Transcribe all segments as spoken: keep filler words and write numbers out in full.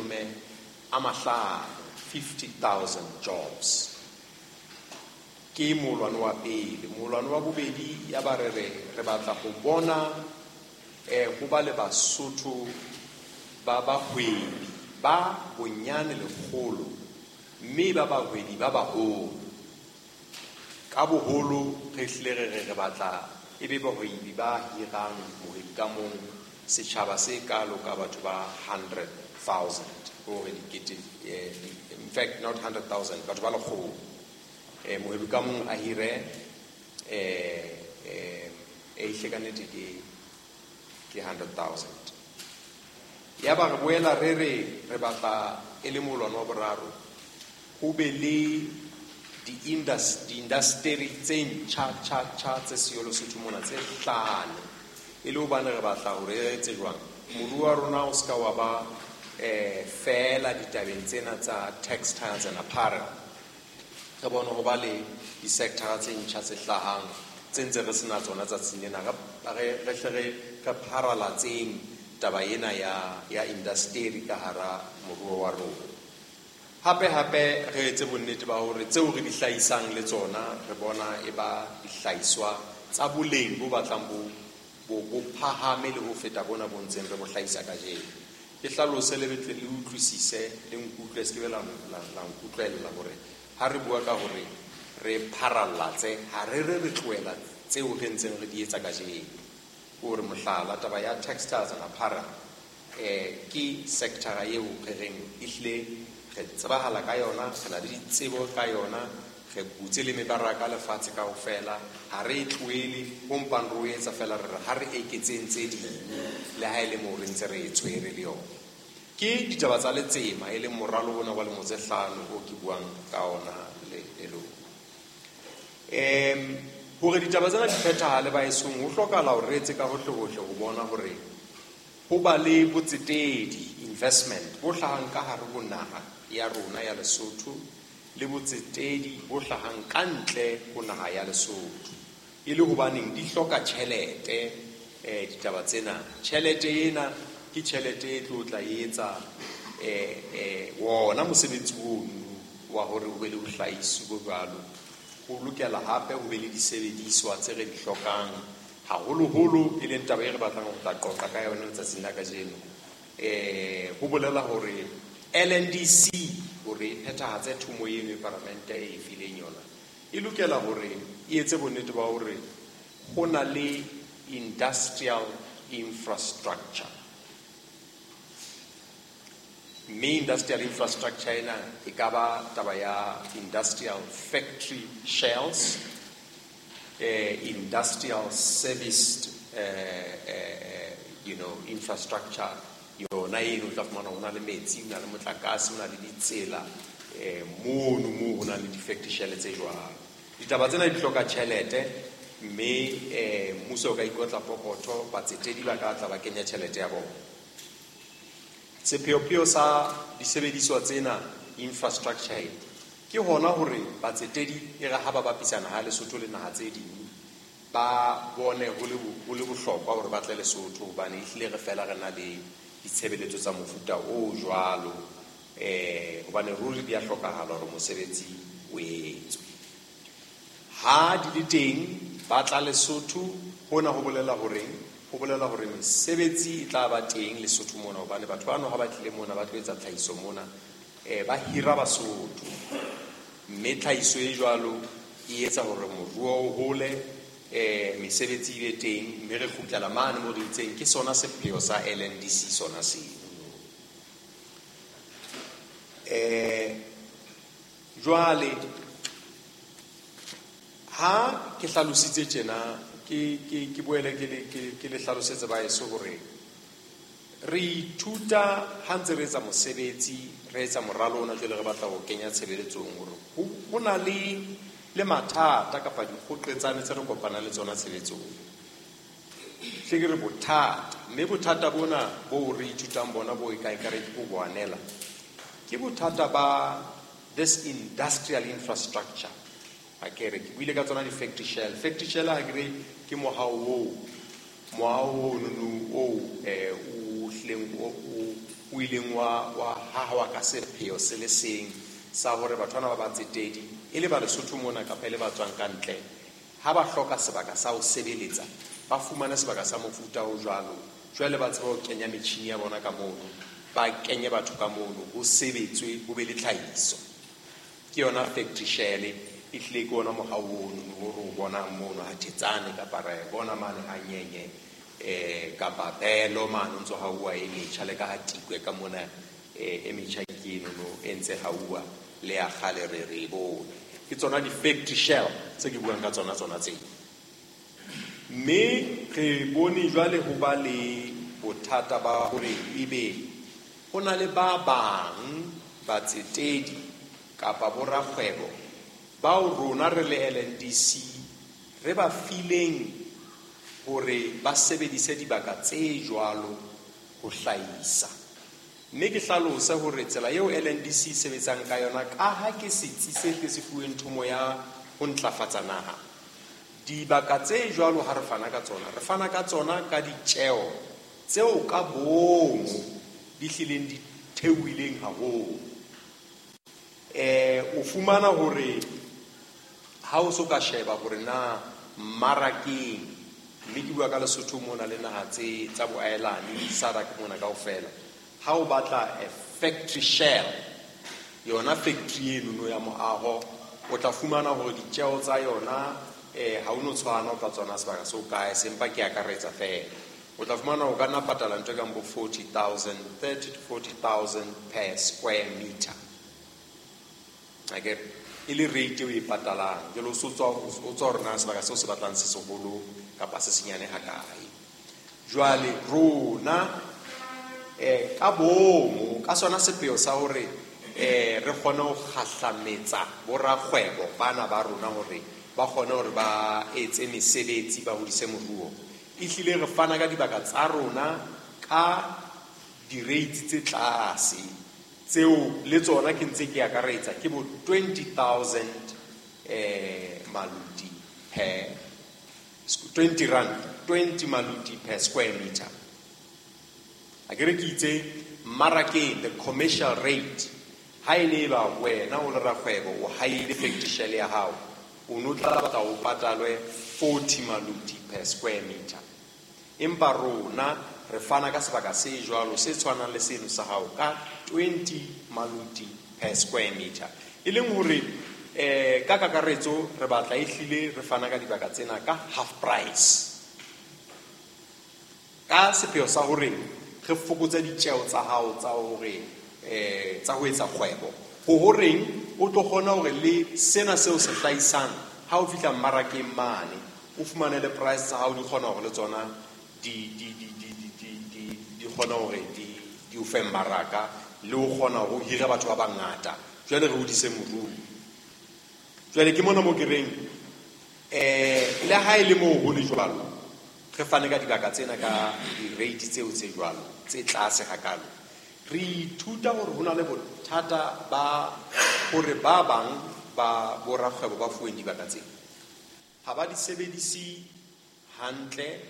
mashome a mahlano, fifty thousand jobs. Ke molwano wa pele. Molwano wa bobedi ya ba re re re batla ho bona eh ho ba le Basotho ba bahwebi ba bonyane lekgolo mme ba bahwebi ba baholo. Ka boholo re hlile re re re batla e be bahwebi ba hirang mohwebi ka mong setjhaba se kalo ka batho ba hundred thousand, hore dikete, eh, in fact not hundred thousand, batho ba lekgolo. Eh, mohwebi ka mong a hire, eh, eh, e hle ka nnete ke, ke hundred thousand. Ya ba re boela re re re batla e le molwano wa boraro ho be le di-indus-, di-industry tse ntjha, tjha, tjha tse siyo Lesotho mona tse hlano, e le hobane re batla hore re etse jwang moruo wa rona o ska wa ba, eh, feela ditabeng tsena tsa textiles and apparel. Re bone ho ba le di-sector tse ntjha tse hlahang tse ntse re sena tsona tsatsing lena, re, re, re hle re, re pharalatseng taba ena ya, ya industry ka hara moruo wa rona. Hape hape re etse bonnete ba hore tseo re di hlahisang le tsona re bona e ba dihlahiswa tsa boleng bo batlang bo, bo, bo phahame le ho feta bona bo ntseng re bo hlahisa kajeno. Ke hlalose le betle le utlwisise le nkutlwe, se ke be la, la, la nkutlwella hore ha re bua ka hore re pharallatse, ha re re re tlohela tseo re ntseng re di etsa kajeno. Hore mohlala taba ya textiles and apparel, eh, ke sector eo re reng ehlile re tsebahala ka yona, re na le ditsebo ka yona, re butse le mebaraka lefatshe kaofela, ha re e tlohele, ho mpang re o etsa fela re re ha re eketseng tse ding le ha e le moo re ntse re e tshwere le yona. Ke ditaba tsa letsema e leng moralo ona wa lemo tse hlano o ke buang ka ona le, le lona. Em, hore ditaba tsena di phethahale baesong, ho hlokahala hore re etse ka hohle hohle ho bona hore ho ba le botsetedi, investment bo hlahang ka hare ho naha ya rona ya Lesotho le botsetedi bo hlahang ka ntle ho naha ya Lesotho. E le hobaneng di hloka tjhelete, eh, ditaba tsena. Tjhelete ena ke tjhelete e tlo tla etsa, eh, eh, wona mosebetsi ono wa hore ho be le bohlahisi bo jwalo. Ho lokela hape ho be le disebediswa tse re di hlokang haholoholo, e leng taba e re batlang ho tla qoqa ka yona letsatsing la kajeno. Eh, ho bolela hore L N D C hore e phethahatse thomo eno e palamente e e fileng yona, e lokela hore e etse bonnete ba hore ho na le industrial infrastructure. Mme industrial infrastructure ena e ka ba taba ya industrial factory shells, eh, industrial serviced, eh, eh, you know, infrastructure. Yona eno o tla fumana ho na le metsi, ho na le motlakase, ho na le ditsela, eh, mono moo ho na le di-factory shell tse jwalo. Ditaba tsena di hloka tjhelete, mme, eh, mmuso o ka ikotla pokotho, batsetedi ba ka tla ba kenya tjhelete ya bona. Sepheopheo sa disebediswa tsena, infrastructure e, ke hona hore batsetedi e re ha ba bapisa naha ya Lesotho le naha tse ding, ba bone ho le bo-, ho le bohlokwa hore ba tle Lesotho, hobane ehlile re fela re na le ditshebeletso tsa mofuta o jwalo, eh, hobane ruri di a hlokahala hore mosebetsi o etswe. Ha di le teng, ba tla Lesotho, hona ho bolela horeng? Ho bolela hore mesebetsi e tla ba teng Lesotho mona, hobane batho bano ha ba tlile mona ba tlo etsa tlhahiso mona, eh, ba hira Basotho. Mme tlhahiso e jwalo e etsa hore moruo o hole, eh, mesebetsi e be teng, mme re kgutlela mane moo re itseng ke sona sepheo sa L N D C sona seo. Eh, jwale ha ke hlalositse tjena, ke, ke, ke boele ke le, ke, ke le hlalosetse baeso hore re ithuta ha ntse re etsa mosebetsi, re etsa moralo ona jwale re batla ho kenya tshebeletsong hore ho, ho na le, le mathata kapa dikgoqetsane tse re kopanang le tsona tshebetsong. Hle ke re bothata, mme bothata bona bo re ithutang bona bo e ka ekare ke bo boanela, ke bothata ba this industrial infrastructure. Ha ke re, ke buile ka tsona di-factory shell. Factory shell ha ke re ke mohao oo, mohao ono no oo, eh, o hlileng o, o, o ileng wa wa hahawa ka sepheo se le seng sa hore batho bana ba batsetedi e le ba Lesotho mona kapa e le ba tswang ka ntle, ha ba hloka sebaka sa ho sebeletsa ba fumane sebaka sa mofuta o jwalo. Jwale ba tseba ho kenya metjhini ya bona ka mono, ba kenye batho ka mono, ho sebetswe, ho be le tlhahiso. Ke yona factory shell, e hlile ke ona mohau ono o re o bonang mono ha Thetsane kapa ra e bona mane ha Nyenye, eh kapa Belo mane o ntso hauwa e metjha, le ka ha Tikwe ka mona, eh, e metjha ke eno no e ntse hauwa le ya kgale re re e bone. Ke tsona di-factory shell tse ke buang ka tsona tsona tseo. Mme re bone jwale ho ba le bothata ba hore ebe ho na le ba bang batsetedi kapa borakgwebo bao rona re le L N D C re ba fileng hore ba sebedise dibaka tse jwalo ho hlahisa. Mme ke hlalose hore tsela eo L N D C e sebetsang ka yona, ka ha ke setsi se ke se fuweng thomo ya ho ntlafatsa naha, dibaka tse jwalo ha re fana ka tsona, re fana ka tsona ka ditjeo tseo ka boomo di hlileng di theohileng haholo. Eh, o fumana hore ha o so ka sheba hore na mmarakeng, mme ke bua ka Lesotho mona le naha tse tsa boahelani, SADC mona kaofela, ha o batla a factory shell, yona factory eno no ya moaho, o tla fumana hore ditjeo tsa yona, eh, ha o no tshwana, o tla tsona sebaka se o kae, sempa ke akaretsa fela. O tla fumana o ka nna patala ntho e kang bo forty thousand, thirty to forty thousand per square meter. Akere e le rate eo e patalang, jwale o so tswa, o tswa hore na sebaka seo se batlang se seholo kapa se senyane hakae. Jwale rona, eh, ka boomo, ka sona sepheo sa hore, eh, re kgone ho kgahlametsa borakgwebo bana ba rona hore ba kgone hore ba etse mesebetsi, ba hodise moruo, ehlile re fana ka dibaka tsa rona ka di-rates tse tlase, tseo le tsona ke ntse ke akaretsa ke bo twenty thousand, eh, maluti per twenty rand, twenty maluti per square meter. Akere ke itse mmarakeng the commercial rate, ha e ne ba wena o le rakgwebo o haile factory shell ya hao, o no tla batla o patalwe forty maluti per square meter. Empa rona re fana ka sebaka se jwalo se tshwanang le seno sa hao ka twenty maluti per square meter. E leng hore, eh, ka kakaretso re batla ehlile re fana ka dibaka tsena ka half price, ka sepheo sa hore re fokotse ditjeo tsa hao tsa hore, eh, tsa ho etsa kgwebo, ho horeng o tlo kgona hore le sena seo se hlahisang ha o fihla mmarakeng mane o fumane le price tsa hao di kgona hore le tsona di, di, di, di, di, di, di, di kgona hore di, di o fe mmaraka, le o kgona ho hira batho ba bangata. Jwale re hodise moruo. Jwale ke mona mo ke reng, eh, le ha e le moo ho le jwalo, re fane ka dibaka tsena ka di-rate tseo tse jwalo, tse tlase hakalo. Re ithuta hore ho na le bothata ba hore ba bang ba borakgwebo ba fuweng dibaka tsena ha ba di sebedise hantle,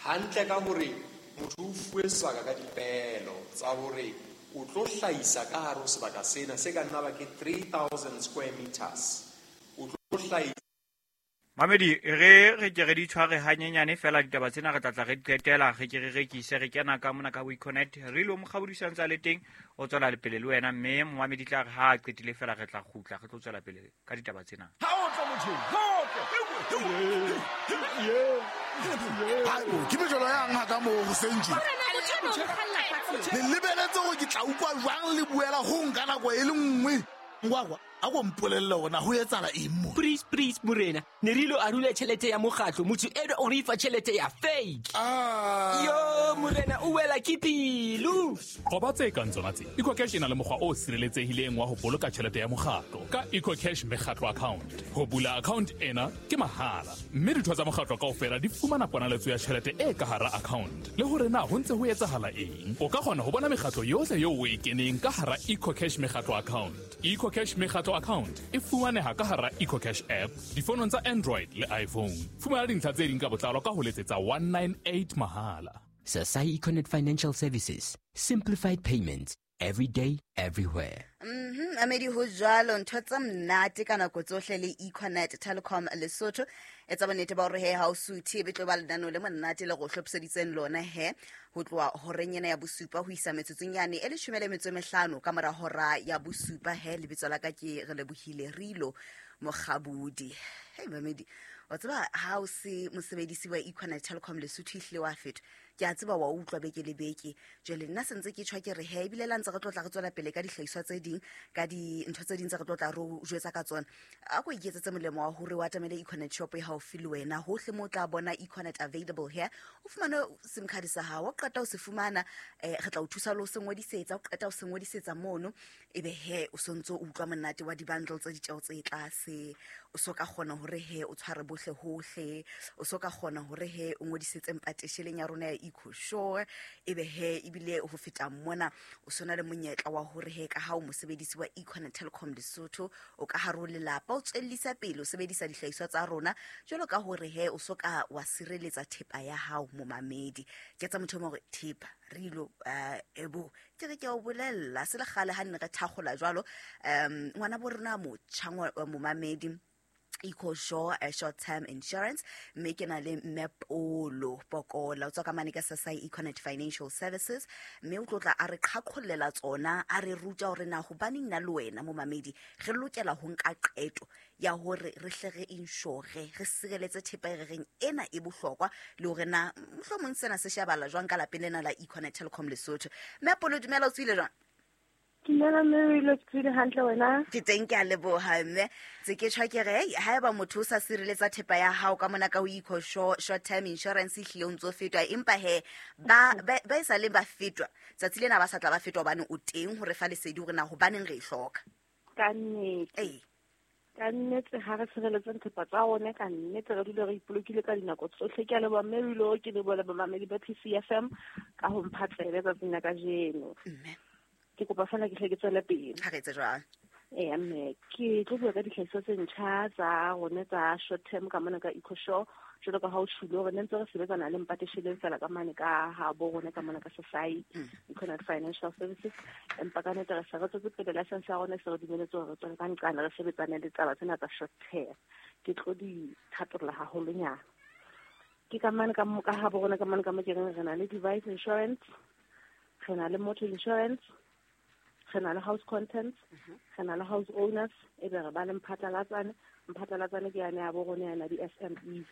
hantle ka hore motho o fuwe sebaka ka dipehelo tsa hore o tlo hlahisa ka hare ho sebaka sena se ka nna ba ke three thousand square meters, o tlo hlahisa. Mamedi, re re ke re di tshware hanyenyane fela ditaba tsena re tla tla re di qetela, re ke re rekise, re kena ka mona ka WeConnect, re lo mokgabodisa ntse a le teng, o tswela le pele le wena, mme momamedi tla re ha a qetile fela re tla kgutla, re tlo tswela pele ka ditaba tsena. Ha o tlo motho, ha o tlo. Haebo, ke mejolo yang ha ka moo hoseng tje? Le lebeletse hore ke tla utlwa jwang le buela ho nka nako e le nngwe? Ngwakwa, a ko mpolelle hore na ho etsahala eng mo? Please, please, morena. Ne re ilo arula tjhelete ya mokgatlo, motho enwa o re fa tjhelete ya fake. Ah. Yo, morena, o wela ke pelo. Qoba tse kang tsona tse. EcoCash e na le mokgwa o sireletsehileng wa ho boloka tjhelete ya mokgatlo ka EcoCash mekgatlo account. Ho bula account ena ke mahala, mme ditho tsa mokgatlo kaofela di fumana ponaletso ya tjhelete e ka hara account. Le hore na ho ntse ho etsahala eng, o ka kgona ho bona mekgatlo yohle eo o e keneng ka hara EcoCash mekgatlo account. EcoCash mekgatlo account e fumaneha ka hara EcoCash app difonong tsa Android le iPhone. Fumana dintlha tse ding ka botlalo ka ho letsetsa one nine eight mahala. Sasai Econet Financial Services. Simplified payments. Every day, everywhere. Mhm, amedi ho jwalo ntho tsa mnate ka nako tsohle le Econet Telecom Lesotho. Etsa bonnete ba hore he ha o suthe be tlo ba lenaneo le monate le go hlophiseditseng lona he ho tloha horeng ena ya bosupa ho isa metsotsong yane e leshome le metso e mehlano ka mora hora ya bosupa he. Lebitso la ka ke re lebohile Rilo Mokgabudi. Hey mamedi, wa tseba ha o se mosebedisi wa Econet Telecom Lesotho ehlile wa fetwa. Ke a tseba wa utlwa beke le beke. Jwale nna sentse ke tjhwa ke re he ebile la ntse re tlotla re tswela pele ka dihlahiswa tse ding, ka dintho tse ding tse re tlotla re o jwetsa ka tsona. A ko iketsetse molemo wa hore o atamele Econet shop e haufi le wena. Hohle mo o tla bona Econet available here. O fumane SIM card sa hao, o qeta o se fumana, eh re tla o thusa le ho se ngodisetsa, o qeta o se ngodisetsa mono, ebe he o sontso o utlwa monate wa di-bundle tse ditjeo tse tlase. O so ka kgona hore he o tshware bohle hohle, o so ka kgona hore he o ngodisetse mpatesheleng ya rona ya EcoSure, ebe he ebile ho feta mona o sona le monyetla wa hore he ka ha o mosebedisi wa Econet Telecom Lesotho o ka hare ho lelapa o tswellisa pele o sebedisa dihlahiswa tsa rona jwalo ka hore he o so ka wa sireletsa thepa ya hao momamedi. Ke tsa motho mo hore thepa Rilo eh ebo ke re ke o bolella se le kgale ha nne re thakgola jwalo um ngwana bo rona motjha momamedi EcoSure a short term insurance mme ke na le mme Polo Pokola o tswa ka mane ka Sasai Econet Financial Services mme o tlotla a re qhaqhollela tsona a re ruta hore na hobaneng nna le wena momamedi re lokela ho nka qeto ya hore re hle re insure re sireletse thepa e re reng ena e bohlokwa le hore na mohlomong sena se shebala jwang ka lapeng lena la Econet Telecom Lesotho. Mme Polo dumela, o tswile jwang? Dumela mme, o tswile hantle wena? Ke teng, ke a leboha mme. Tse ke tjhwa ke re haeba motho o sa sireletsa thepa ya hao ka mona ka ho EcoSure short term insurance ehlile o ntso fetwa, empa he ba ba e sa leng ba fetwa tsatsi lena ba sa tla ba fetwa hobane o teng hore fa lesedi hore na hobaneng re e hloka. Ka nnete. Ee. Ka nnete ha re sireletseng thepa tsa rona, ka nnete re dule re ipolokile ka dinako tsohle. Ke a leboha mme Rilo, ke leboha bamamedi ba P C F M ka ho mpha tsebe tsatsing la kajeno. Mme ke kopa fela ke hle ke tswele pele. Ha re etse jwang? Ee mme, ke tlo bua ka dihlahiswa tse ntjha tsa rona tsa short term ka mona ka EcoSure. Jwalo ka ha o tjhule hore ne ntse re sebetsana le mpatesheleng fela ka mane ka ha bo rona ka mona ka Sasai Econet Financial Services. Empa ka nnete re se re tswetse pele license ya rona e se re dumeletse hore re tswele ka nqane re sebetsane le taba tsena tsa short term. Ke tlo di thatolla haholonyana. Ke ka mane ka ka ha bo rona ka mane ka mo ke reng re na le device insurance, re na le motor insurance, re na le house contents, re na le house owners, e be re ba le mphatlalatsane. Mphatlalatsane ke yane ya bo rona yana di-S M Es.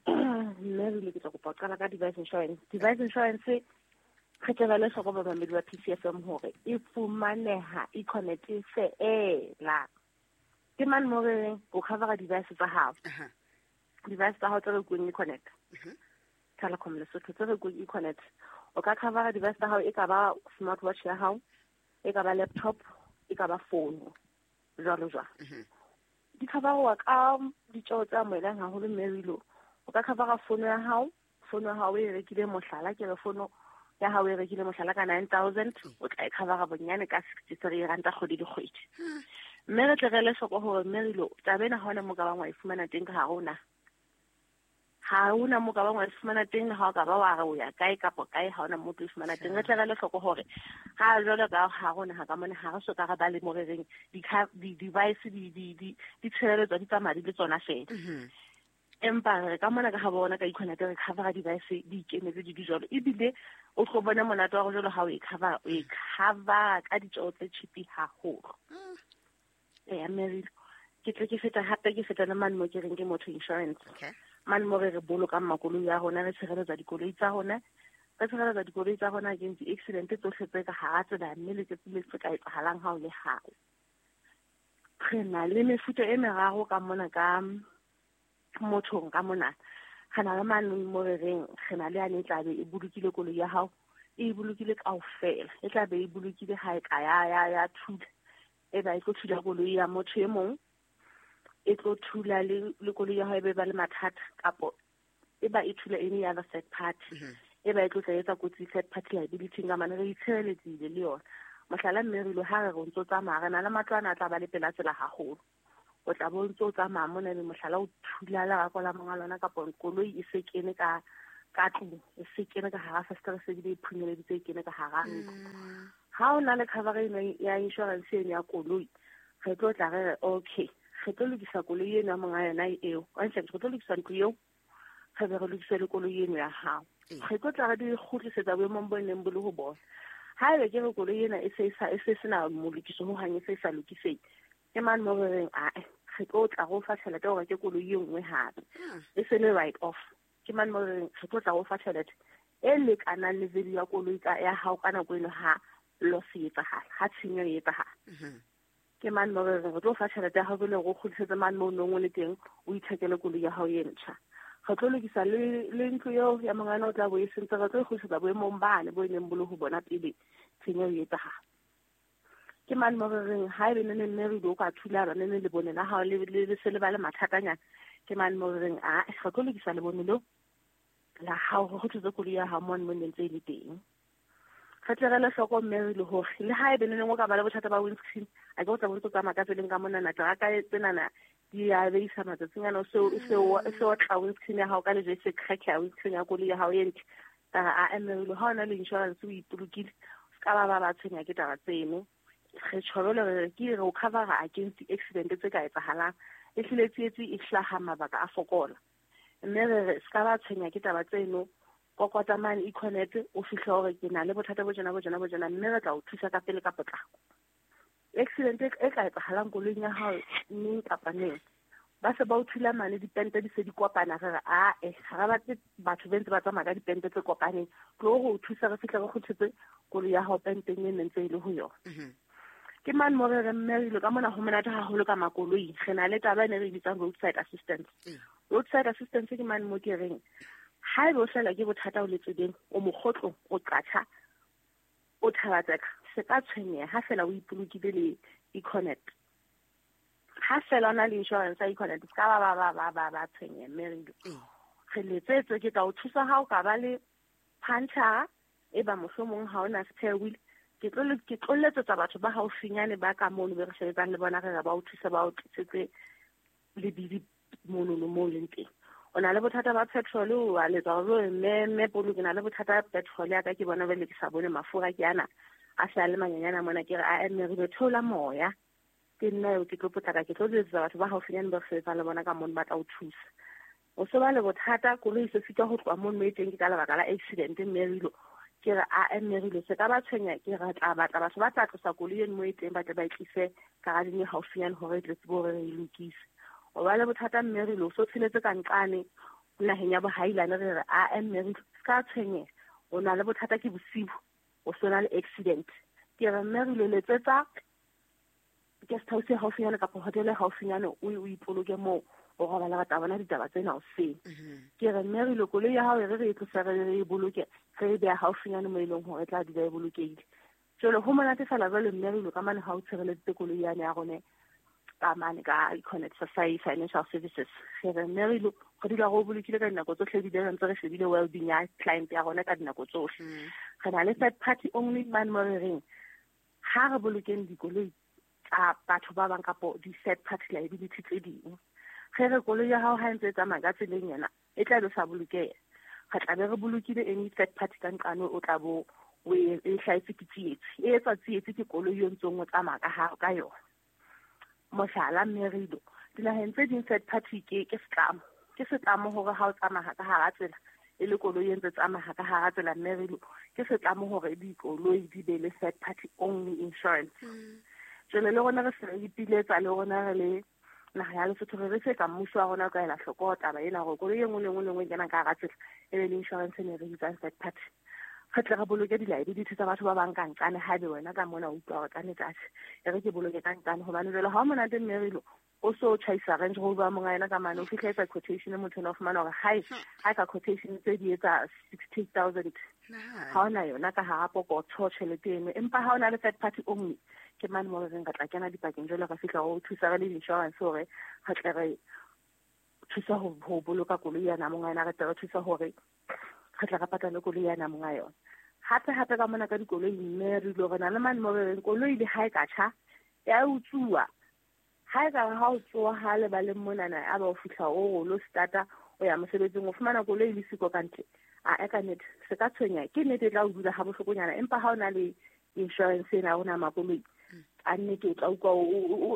Mme re ile ke tla kopa ho qala ka device insurance. Device insurance re tle ba le hloko bamamedi ba P C F M hore e fumaneha Econet feela. Ke mane mo re reng o covera device tsa hao. Device tsa hao tse rekuweng Econet Telecom Lesotho tse rekuweng Econet. O ka covera device tsa hao, e ka ba smartwatch ya hao, e ka ba laptop, e ka ba phone, jwalo jwalo. Di coverwa ka ditjeo tse amohelang haholo mme Rilo. O ka covera phone ya hao, phone ya hao e rekile mohlala, ke re phone ya hao e rekile mohlala ka nine thousand, o tla e covera bonyane ka sixty-three ranta kgwedi le kgwedi. Mme re tle re ele hloko hore mme Rilo, taba ena ha hona moo ka bang wa e fumana teng ka hare ho naha. Ha hona moo ka bang wa e fumana teng, ha o ka ba wa re o ya kae kapa kae, ha hona moo o tlo e fumana teng. Re tle re ele hloko hore ha jwalo ka ha rona ha ka mona ha re so ka re ba le mo re reng di-device di di di di tshireletswa di tsamaya di le tsona fela. Empa re ka mona ka ha bona ka Econet re covera device di ikemetse di di jwalo, ebile o tlo bona monate wa go jwalo ha o e cover, o e cover ka ditjeo tse cheap haholo. Ee mme Rilo, ke tle ke feta hape ke feta le mane mo ke reng ke motor insurance. Okay. Mane mo re re bolokang makoloi a rona, re tshireletsa dikoloi tsa rona, re tshireletsa dikoloi tsa rona against di-accident tsohle tse ka hara tsela mme le tse tse ka etsahalang ha o le hae. Re na le mefuta e meraro ka mona ka mothong ka mona. Re na le mane mo re reng re na le yane e tla be e bolokile koloi ya hao, e bolokile kaofela, e tla be e bolokile ha e ka ya ya ya thula, e ba e tlo thula koloi ya motho e mong, e tlo thula le le koloi ya hao e be ba le mathata, kapo e ba e thula any other third party, e ba e tlo tla etsa kotsi third party liability ka mane re itshireletsile le yona. Mohlala mme Rilo ha re re ntso tsamaya re na le matlo ana a tla ba le pela tsela haholo, o tla bo ntso tsamaya mona ebe mohlala o thula lerako la monga lona kapa koloi e se kene ka ka tlung e se kene ka hara festere se bile e phunyeleditse e kene ka hara ntlo. Ha o na le cover eno ya insurance eno ya koloi, re tlo tla re re okay, re tlo lokisa koloi eno ya monga yona eo, hantle re tlo lokisa ntlo eo, re be re lokise le koloi eno ya hao. Re tlo tla re di kgutlisetsa boemong bo neng bo le ho bona. Haebe ke re koloi ena e se e sa e se sena molokiso ho hang, e se e sa lokisehe, ke mane mo re reng ae, re tlo tla re o fa tjhelete hore ke koloi e nngwe hape, e se le write off. Ke mane mo re reng re tlo tla re o fa tjhelete e lekanang le value ya koloi ka ya hao ka nako eno ha loss e etsahala, ha tshenyo e etsahala. Ke mane mo re reng re tlo fa tjhelete ya hao jwale re o kgutlisetse mane mo o nong o le teng, o ithekele koloi ya hao e ntjha. Re tlo lokisa le le ntlo eo ya mongana o tla bo e sentse, re tlo e kgutlisetsa boemong bane bo e neng bo le ho bona pele tshenyo e etsahala. Ke mane mo re reng haebe ne ne mme re o ka thulana ne ne lebone la hao le le se le ba le mathatanyana, ke mane mo re reng a re tlo lokisa lebone leo la hao, re kgutlise koloi ya hao mane mo ne ntse e le teng. Re tle re le hloko mme re le hore le haebe ne neng o ka ba le bothata ba windscreen, a ke o tla bo ntse o tsamaya ka tseleng ka monana, teraka tsenana di a beisa matsatsing ana, o se o se o tla windscreen ya hao ka lejwe se crack ya windscreen ya koloi ya hao e ntle. Ka re a mme re ha o na le insurance o ipolokile, o ska ba ba ba tshwenya ke taba tseno. Re tjho le re ke re o cover against accident tse ka etsahalang, e hlile tsietsi e hlaha mabaka a fokola. Mme re re ska ba tshwenya ke taba tseno, kokota mane Econet o fihle hore ke na le bothata bo tjena bo tjena bo tjena, mme re tla o thusa ka pele ka potlako. Accident e ka etsahalang koloing ya hao neng kapa neng, ba se ba o thula mane dipente di se di kopana, re re ae, ha re batle batho ba ntse ba tsamaya ka dipente tse kopaneng, tlo go o thusa re fihle re kgutletse koloi ya hao penteng e neng ntse e le ho yona. Ke mane mo re re mme re ile ka mona ho monate haholo ka makoloi, re na le taba e ne re e bitsang roadside assistance. Roadside assistance ke mane mo ke reng haebe o hlahelwa ke bothata o le tseleng, o mokgotlong, o qatjha, o thabatseka, se ka tshwenyeha ha fela o ipolokile le Econet. Ha fela o na le insurance ya Econet, se ka ba ba ba ba ba ba tshwenyeha mme re re letsetse, ke tla o thusa ha o ka ba le puncture, e ba mohlomong ha o na spare wheel, ke tlo ke tlo letsetsa batho ba haufinyane ba ka mono be re sebetsang le bona, re re ba o thuse ba o tlisetse lebidi mono no mo leng teng. O na le bothata ba petrol, o a letsa hore mme mme polo ke na le bothata ba petrol ya ka, ke bona bele ke sa bone mafura ke ana a sa le manyenyana mona, ke re a mme re theola moya, ke nna eo ke tlo potlaka, ke tlo letsetsa batho ba haufinyane ba re sebetsang le bona ka mono ba tla o thusa. O se ba le bothata, koloi se sitwa ho tloha mono e teng ke ka lebaka la accident mme re ilo, ke re a mme re ilo se ka ba tshwenya, ke re tla batla batho ba tla tlosa koloi eno mo e teng, ba tle ba e tlise garageng e haufinyane hore e tle tsebe hore re e lokise. O ba le bothata mme re lo so tsheletse ka nqane naheng ya bohailane, re re a mme re ka tshwenyeha, o na le bothata ke bosibu, o so na le accident, ke re mme re lo letsetsa guest house e haufinyane kapa hotel e haufinyane, o o ipoloke moo o robala, re tla bona ditaba tsena hoseng. Ke re mme re lo koloi ya hao e re re e tlose re re e boloke, re e beha haufinyane mo e leng hore e tla dula e bolokehile. Jwale ho monate fela jwale mme re lo ka mane ha o tshireleditse koloi yane ya rone ka mane ka Econet Society Financial Services. Re re mme re lo re dula re o bolokile ka dinako tsohle, ebile re ntse re shebile well-being ya client ya rona ka dinako tsohle. Re na le third party only mane mo re reng ha re bolokeng dikoloi tsa batho ba bang kapo di-third party liability tse ding. Re re koloi ya hao ha e ntse e tsamaya ka tseleng yena e tla be sa bolokeha, re tla be re bolokile any third party ka nqane o tla bo o e hlahetse ke tsietsi, e etsa tsietsi ke koloi eo ntsong o tsamaya ka hao ka yona. Mohlala mme re ilo dinaheng tse ding third party ke ke setlamo, ke setlamo hore ha o tsamaya ka hara tsela e le koloi e ntse tsamaya ka hara tsela mme re ilo ke setlamo hore dikoloi di be le third party only insurance. Jwale le rona re se re ipiletsa le rona re le naha ya Lesotho, re re se ka mmuso wa rona o ka ela hloko taba ena hore koloi e nngwe le nngwe le nngwe e kenang ka hara tsela e be le insurance e ne re bitsang third party. Re tle re boloke di-liability tsa batho ba bang ka nqane, haebe wena ka mona o utlwa hore ka nnete atjhe e re ke boloke ka nqane, hobane jwale ha o monate mme re ilo o so tjhaisa Range Rover monga yena ka mane, o fihla etsa quotation, motho ena o fumana hore hae ha ka quotation tse di etsa sixty thousand, ha ona yona ka hara pokotho tjhelete eno, empa ha ona le third party only, ke mane mo re reng re tla kena dipakeng jwale re fihla ho thusa re le insurance hore re tle re thusa ho ho boloka koloi yana monga yena, re tle re thusa hore re tle re patale koloi yana monga yona. Hape hape ka mona ka dikoloi mme re ilo re na le mane mo re reng koloi le ha e ka tjha ya utsuwa, ha e ka ha o tsoha ha le ba le monana a ba o fihla o lo starta o ya mosebetsing, o fumana koloi le siko ka ntle, A e ka nnete se ka tshwenya, ke nnete e tla o dula ha bohlokonyana, empa ha o na le insurance ena o na makoloi a nnete o tla utlwa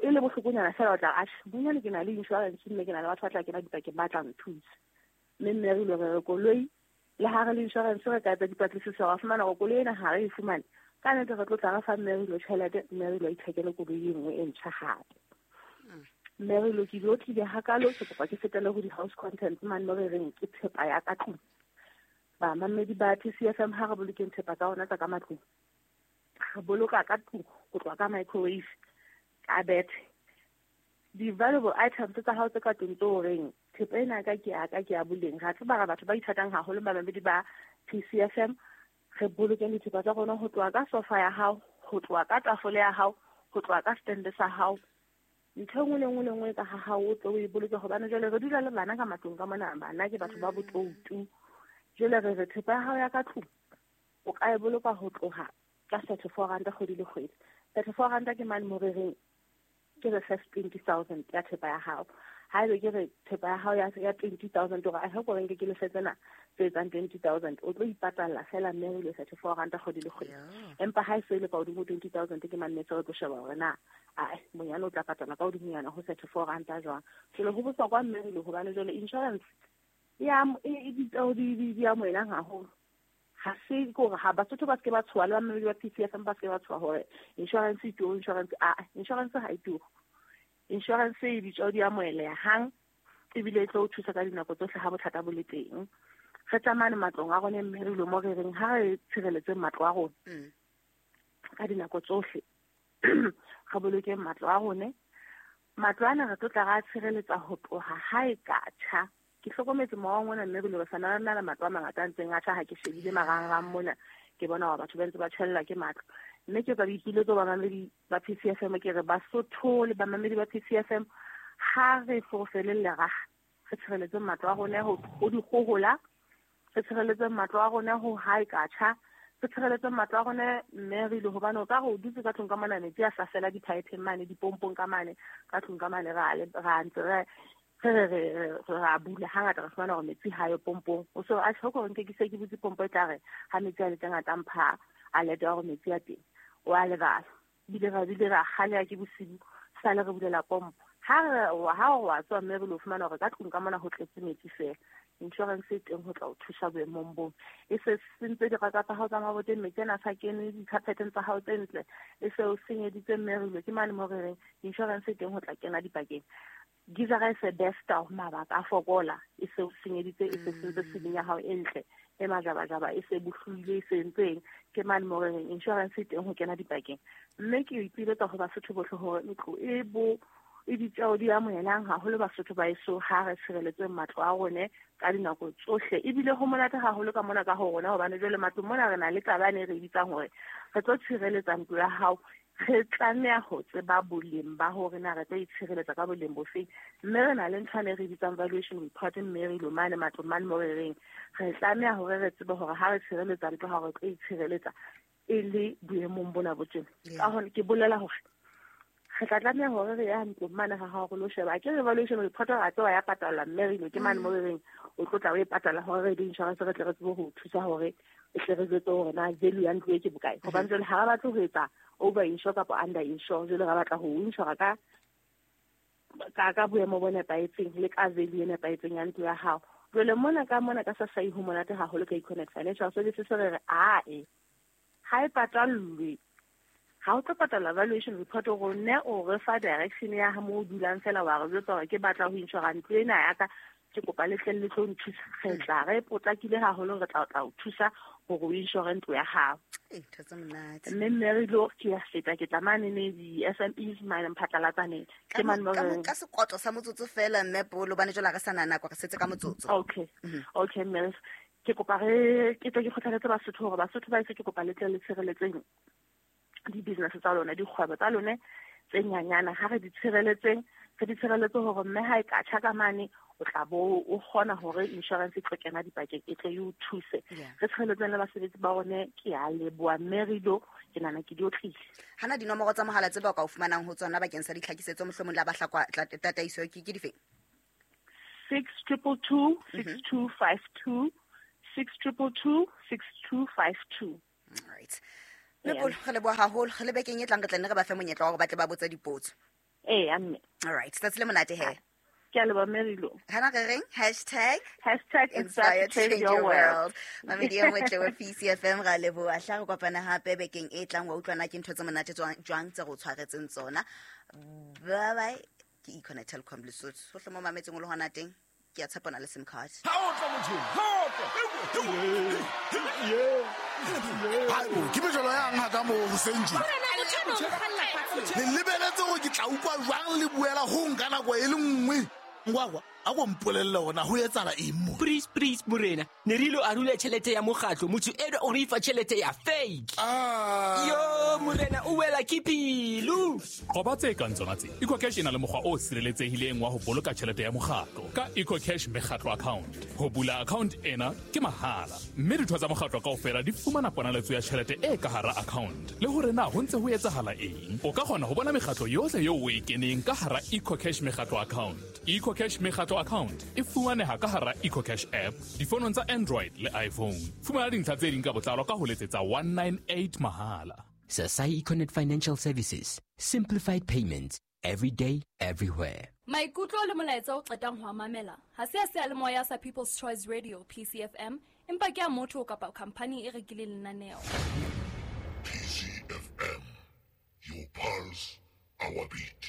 e le bohlokonyana fela, o tla atjhe bonyane ke na le insurance mme ke na le batho ba tla kena dipakeng ba tla nthusa. Mme mme re ile re koloi le ha re le insurance re ka etsa dipatlisiso ra fumana hore koloi ena ha re e fumane, ka nnete re tlo tla re fa mme re ilo tjhelete, mme re ilo ithekele koloi e nngwe e ntjha hape. Mme re lo ke lo tlile hakalo, ke kopa ke fetele ho di-house contents mane mo re reng ke thepa ya ka tlung. Bamamedi ba P C F M ha re bolokeng thepa tsa rona tsa ka matlung, re boloka ka tlung ho tloha ka microwave, ka bethe, di-valuable items tsa hao tse ka tlung tse o reng thepa ena ka ke ya ka ke ya boleng. Ra tseba re batho ba ithatang haholo bamamedi ba P C F M, re bolokeng dithepa tsa rona ho tloha ka sofa ya hao, ho tloha ka tafole ya hao, ho tloha ka stand sa hao. Ntho e nngwe le nngwe le nngwe ka ha hao o tlo o e boloke, hobane jwale re dula le bana ka matlung ka mona, bana ke batho ba botoutu. Jwale re re thepa ya hao ya ka tlung o ka e boloka ho tloha ka thirty-four ranta kgwedi le kgwedi. thirty-four ranta ke mane mo re reng ke re first twenty thousand ya thepa ya hao. Haebe ke re thepa ya hao ya ya twenty thousand, hore a hoko reng ke lefe tsena tse etsang twenty thousand, o tlo ipatalla fela mme re le thirty-four ranta kgwedi le kgwedi. Empa ha e se le ka hodimo twenty thousand ke mane se re tlo sheba hore na ai monyane o tla patala ka hodimonyana ho thirty-four ranta jwang. Jwale ho bohlokwa mme re le hobane jwale insurance ya e di di amohelang haholo. Ha se gore ha Basotho ba se ba tshoha le bamamedi ba P C F M ba se ba tshoha hore insurance e turu, insurance a insurance ha e turu. Insurance e ditjeo di amoheleha hang, ebile e tlo o thusa ka dinako tsohle ha bothata bo le teng. Re tsamane matlong a rona mme re ilo mo re reng ha re tshireletse matlo a rona ka dinako tsohle, re bolokeng matlo a rona. Matlo ana re tlo tla ra tshireletsa ho tloha ha e ka tjha. Ke hlokometse mowa mona mme re le sana na le matlo a mangata a ntseng a tjha, ha ke shebile marangrang mona ke bona hore batho ba ntse ba tjhellwa ke matlo. Mme ke etsa boipiletso bamamedi ba P C F M, ke re Basotho le bamamedi ba P C F M ha re fofele leraha, re tshireletse matlo a rona ho ho dikgohola, re tshireletse matlo a rona ho ha e ka tjha, re tshireletse matlo a rona mme re ile hobane o ka re o dutse ka tlung ka mona metsi a sa fela di-pipe mane, dipompong ka mane, ka tlung ka mane ra ra ntse re re re ra bula hangata re fumana hore metsi ha yo pompong. O so a tlhoko hore nke ke se ke butse pompo e tla re ha metsi a le teng a tla mpha alert ya hore metsi a teng, o a lebala. Bile ra bile ra kgaleha ke bosibu sale re bulela pompo. Ha re ha o wa tswa mme re lo fumana hore ka tlung ka mona ho tletse metsi fela. Insurance e teng ho tla o thusa boemong boo. E se sentse diraka tsa hao tsa maboteng, metsi ana a sa kene di-carpeteng tsa hao tse ntle, e se o senyeditse mme re ilo ke mane mo re reng insurance e teng ho tla kena dipakeng. Gizara e se besta mabaka a fokola, e se o senyeditse, e se sentse ceiling ya hao e ntle e majabajaba, e se bohlwile, e se entseng, ke mane mo re reng insurance e teng ho kena dipakeng. Mme ke ipiletsa ho Basotho bohle hore ntlo e bo e ditjeo di amohelang haholo Basotho ba eso, ha re tshireletseng matlo a rone ka dinako tsohle. Ebile ho monate haholo ka mona ka ho rona, hobane jwale matlong mona re na le taba ene e re bitsang hore re tlo tshireletsa ntlo ya hao. Re tlameha ho tseba boleng ba hore na re tlo itshireletsa ka boleng bofeng, mme re na le ntho ene e re bitsang valuation report, mme re ilo mane matlong mane mo re reng re tlameha hore re tsebe hore ha re tshireletsa ntlo ha re tlo itshireletsa e le boemong bona bo tjena. Ka hona ke bolela hore re tla tlameha hore re ya ntlong mane ha hao re lo sheba ke valuation report ra tseba ya patalwa, mme re ilo ke mane mo re reng o tlo tla o e patala hore re di-insurance re tle re tsebe ho thusa hore e tle re jwetse hore na value ya ntlo e ke bokae. Hobane jwale ha re batle ho etsa over insure kapa under insure, jwale re batla ho insure ka ka ka boemo bo nepahetseng le ka value e nepahetseng ya ntlo ya hao. Jwale mona ka mona ka Sasai ho monate haholo ka Econet Financial Services, re re ae ha e patallwe, ha o tlo patala valuation report rone o re fa direction ya ha mo o dulang fela, wa re jwetsa hore ke batla ho insure ntlo ena ya ka, ke kopa le tle le tlo nthusa. Re tla re potlakile haholo, re tla tla o thusa hore o insure ntlo ya hao. Ee, ntho tse monate. Mme mme re lo ke ya feta ke tla mane ne di-S M Es mane mphatlalatsaneng. Ke mane mo re ka sekotlo sa motsotso fela mme Polo, hobane jwale ha re sa na nako, re setse ka motsotso. Okay. Okay mme ke kopa re ke tle ke kgothaletse Basotho hore Basotho ba ise ke kopa le tle le tshireletseng di-business tsa lona, dikgwebo tsa lone tse nyanyana, ha re di tshireletseng, re di tshireletse hore mme ha e ka tjha ka mane o tla bo o kgona hore insurance e tlo kena dipakeng, e tle e o thuse. Re tshireletseng le basebetsi ba rone. Ke a leboha mme re ilo ke nahana ke di otlile. Hana dinomoro tsa mohala tse ba ka o fumanang ho tsona bakeng sa ditlhakisetso mohlomong la bahlakwa tataiso ke ke difeng? six triple two six two five two, six triple two six two five two. All right. Mepolo, re leboha haholo. Re le bekeng e tlang re tla nne re ba fe monyetla wa hore ba tle ba botse dipotso. Ee, a mme. All right. Tsatsi le monate he. Ke a leboha, Mary-Lou. Hana re reng? Hashtag Hashtag Inspire to Change Your World. Mamedi e motle wa P C F M, ra leboha. Hla re kopana hape bekeng e tlang, wa utlwana ke ntho tse monate jwang tse re o tshwaretseng tsona. Bye bye. Ke Econet Telkom Lesotho. Hohle mo mametseng o le hona teng, ke a tshepa o na le SIM card. Ha o tla motho, ha o tla. Haebo, ke mejolo yang ha ka moo hoseng tje. Le lebeletse hore ke tla utlwa jwang le buela ho nka nako e le nngwe. Ngwakwa, a ko mpolelle hore na ho etsahala eng mo. Please, please, morena. Ne re ilo arula tjhelete ya mokgatlo, motho enwa o re fa tjhelete ya fake. Ah. Yo, morena, o wela ke pelo. Qoba tse kang tsona tse. EcoCash e na le mokgwa o sireletsehileng wa ho boloka tjhelete ya mokgatlo ka EcoCash mekgatlo account. Ho bula account ena ke mahala, mme ditho tsa mokgatlo kaofela di fumana ponaletso ya tjhelete e ka hara account. Le hore na ho ntse ho etsahala eng, o ka kgona ho bona mekgatlo yohle eo o e keneng ka hara EcoCash mekgatlo account. EcoCash mekgatlo account e fumaneha ka hara EcoCash app difonong tsa Android le iPhone. Fumana dintlha tse ding ka botlalo ka ho letsetsa one nine eight mahala. Sasai Econet Financial Services. Simplified payments. Every day, everywhere. Maikutlo le molaetsa o qetang ho a mamela ha se a seyalemoya sa People's Choice Radio P C F M, empa ke a motho kapa khampani e rekileng lenaneo. P C F M, your pulse, our beat.